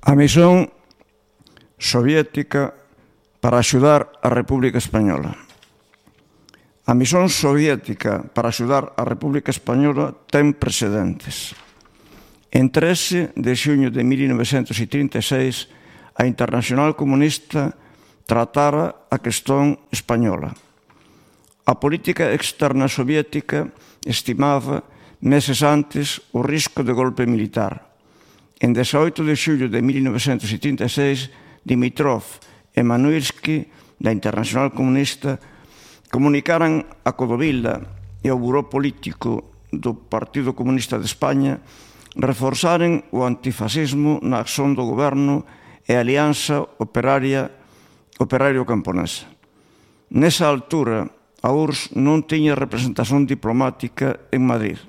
A misión soviética para axudar a República Española. A misión soviética para axudar a República Española ten precedentes. En 13 de xuño de 1936, a Internacional Comunista tratara a cuestión española. A política externa soviética estimaba meses antes o risco de golpe militar. En 18 de xullo de 1936, Dimitrov e Manuilsky, da Internacional Comunista, comunicaran a Codovila e ao Buró Político do Partido Comunista de España reforzaren o antifascismo na acción do goberno e a alianza operario-camponesa. Nesa altura, a URSS non tiña representación diplomática en Madrid.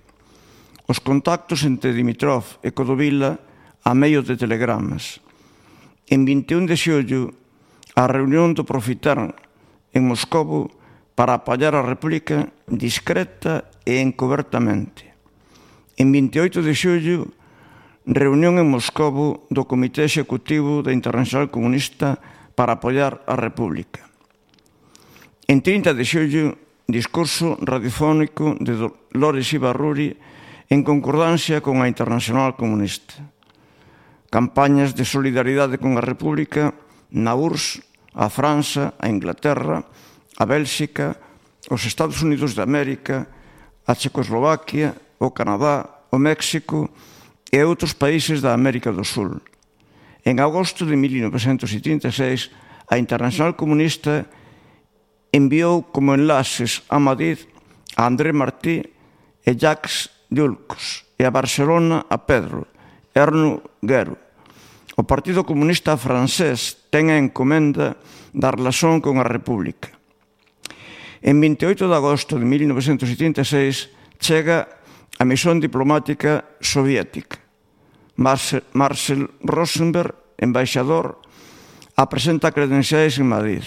Os contactos entre Dimitrov e Codovila a medio de telegramas. En 21 de xullo, a reunión do Profitern en Moscovo para apoiar a República discreta e encobertamente. En 28 de xullo, reunión en Moscovo do Comité Executivo da Internacional Comunista para apoiar a República. En 30 de xullo, discurso radiofónico de Dolores Ibarruri en concordancia con a Internacional Comunista. Campañas de solidaridade con a República na URSS, a França, a Inglaterra, a Bélxica, os Estados Unidos de América, a Checoslovaquia, o Canadá, o México e outros países da América do Sul. En agosto de 1936, a Internacional Comunista enviou como enlaces a Madrid a André Martí e Jacques Dulcos e a Barcelona a Pedro Erno Guerro. O Partido Comunista francés ten a encomenda da relación con a República. En 28 de agosto de 1936 chega a misión diplomática soviética. Marcel Rosenberg, embaixador, apresenta credenciais en Madrid.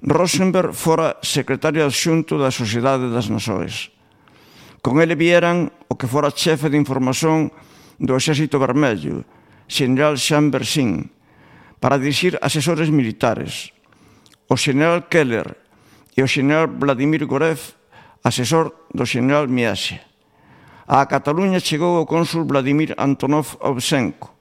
Rosenberg fora secretario adxunto da Sociedade das Nações. Con ele vieran o que fora chefe de información do Exército Vermello, xeneral Jean Bersin, para dirixir asesores militares, o xeneral Keller e o xeneral Vladimir Gorev, asesor do xeneral Miasia. A Cataluña chegou o cónsul Vladimir Antonov Ovsenko,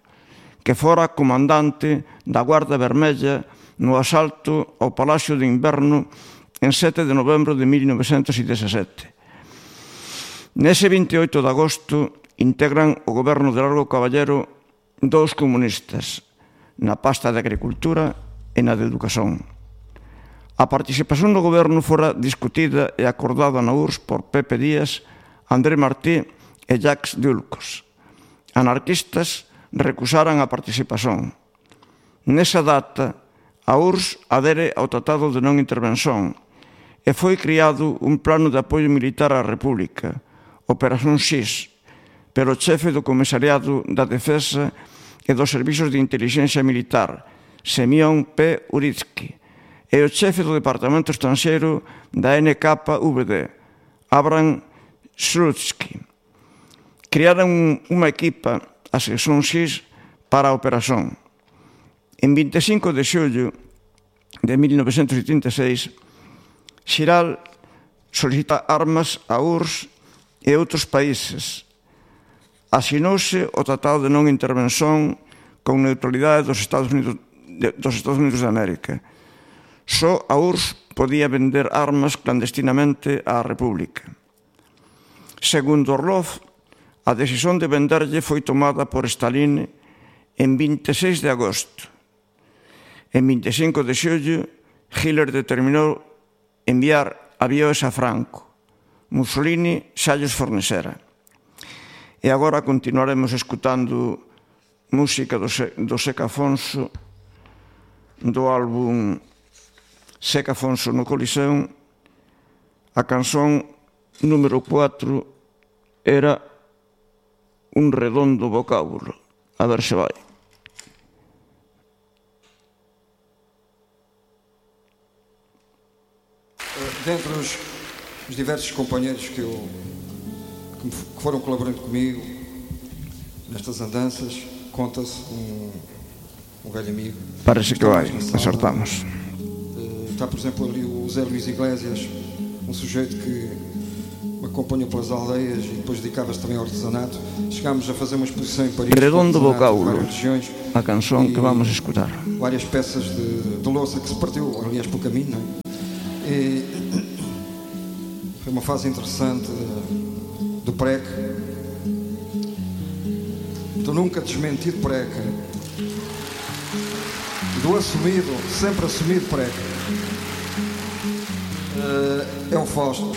que fora comandante da Guarda Vermella no asalto ao Palacio de Inverno en 7 de novembro de 1917. Nese 28 de agosto integran o goberno de Largo Caballero dous comunistas, na pasta de Agricultura e na de Educación. A participación do goberno fora discutida e acordada na URSS por Pepe Díaz, André Martí e Jacques Dulcos. Anarquistas recusaran a participación. Nesa data, a URSS adere ao Tratado de Non Intervención e foi criado un plano de apoio militar á República, Operación X, pero o chefe do Comisariado da Defensa e dos Servizos de Intelixencia Militar, Semyon P. Uritsky, e o chefe do Departamento Estranxeiro da NKVD, Abram Slutsky. Crearon unha equipa, a Sección X, para a operación. En 25 de xullo de 1936, Xiral solicita armas a URSS e outros países. Asinouse o Tratado de Non Intervención con neutralidade dos Estados Unidos de América. Só a URSS podía vender armas clandestinamente á República. Segundo Orlov, a decisión de venderlle foi tomada por Stalin en 26 de agosto. En 25 de xullo, Hitler determinou enviar avións a Franco. Mussolini xa lles fornecera. E agora continuaremos escutando música do Seca Afonso, do álbum Seca Afonso no Coliseo. A canción número 4 era Un redondo vocábulo. A ver se vai. Dentre os diversos companheiros que foram colaborando comigo nestas andanças, conta-se um velho amigo. Parece que vai, acertamos. Está, por exemplo, ali o Zé Luís Iglesias, um sujeito que me acompanhou pelas aldeias e depois dedicava-se também ao artesanato. Chegámos a fazer uma exposição em Paris. Redondo vocábulo, regiões, a canção que vamos escutar. Várias peças de louça que se partiu, aliás, pelo caminho, não é? E foi uma fase interessante do PREC. Do nunca desmentido PREC. Do assumido, sempre assumido PREC. É o Fausto.